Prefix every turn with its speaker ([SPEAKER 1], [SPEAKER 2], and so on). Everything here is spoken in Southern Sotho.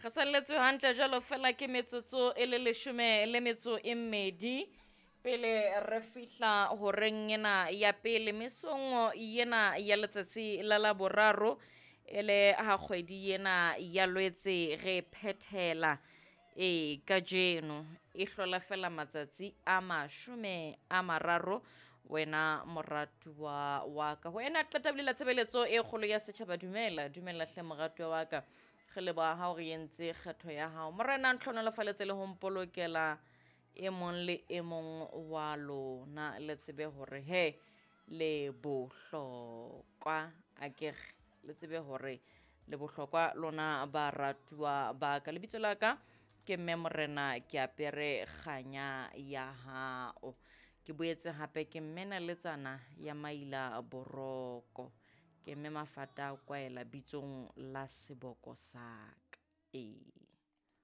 [SPEAKER 1] Re salletswe hantle jwalo fela ke metsotso e le leshome le metso e mmedi pele re fihla horeng ena ya pele mesong ena ya letsatsi la Laboraro, e le ha kgwedi ena ya Lwetse re phethela. E kajeno e hlola fela matsatsi a 30 wena moratuwa wa ka. Ho ena qeta bolela tshebeletso e kgolo ya setjhaba. Dumela, dumela hle moratuwa wa ka. Re leboha ha o re entse kgetho ya hao. Morena a ntlhonolofaletse le ho mpolokela e mong le e mong wa lona. Le tsebe hore he le bohlokwa, akere le tsebe hore le bohlokwa lona baratuwa ba ka. Lebitso la ka ke mme Morena, ke apere kganya ya hao. Ke boetse hape ke mme naletsana ya maila boroko. Ke mme mafata a kwaela bitsong la seboko sa ka. Ee.